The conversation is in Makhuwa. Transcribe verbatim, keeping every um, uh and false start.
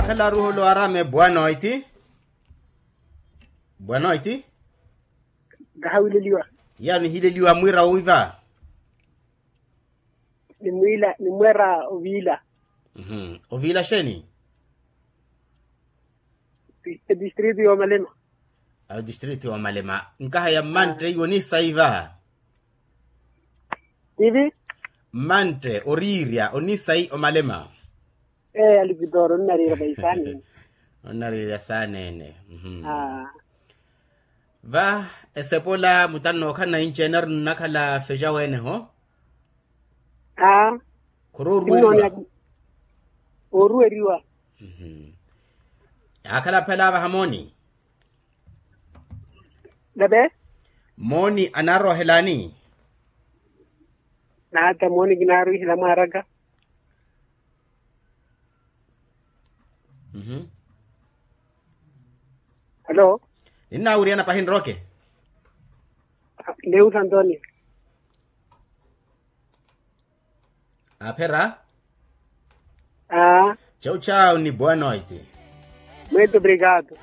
Akhala aruholo arame bwanoiti. Bwanoiti. Kahawileliwa. Yaani hileliwa mwira wiva. Ni mwila ni mwera ovila. Ovila sheni? Distrito ya omalema. Distrito ya omalema. Nkaha ya mmantte iwo ni saiva. Tivi. Mmantte oriirya onisai omalema. Ee alipitoro onnariira vaisaanene. Onnariira saanene. Va esepola mutannookhala na inci ene ari nnakhala feja weene ho. Aa. Khuri oruweriwa. Oruweriwa. Yaakhala aphela avaha mooni. Nave. Mooni anaarohelani. Naata mooni kinaarwihela mwaaraka. Halo. Ninnaawiriyana pahi nroke. Neu santonio. Aphera. Aa. Chau chau ni boa noite. Muito obrigado.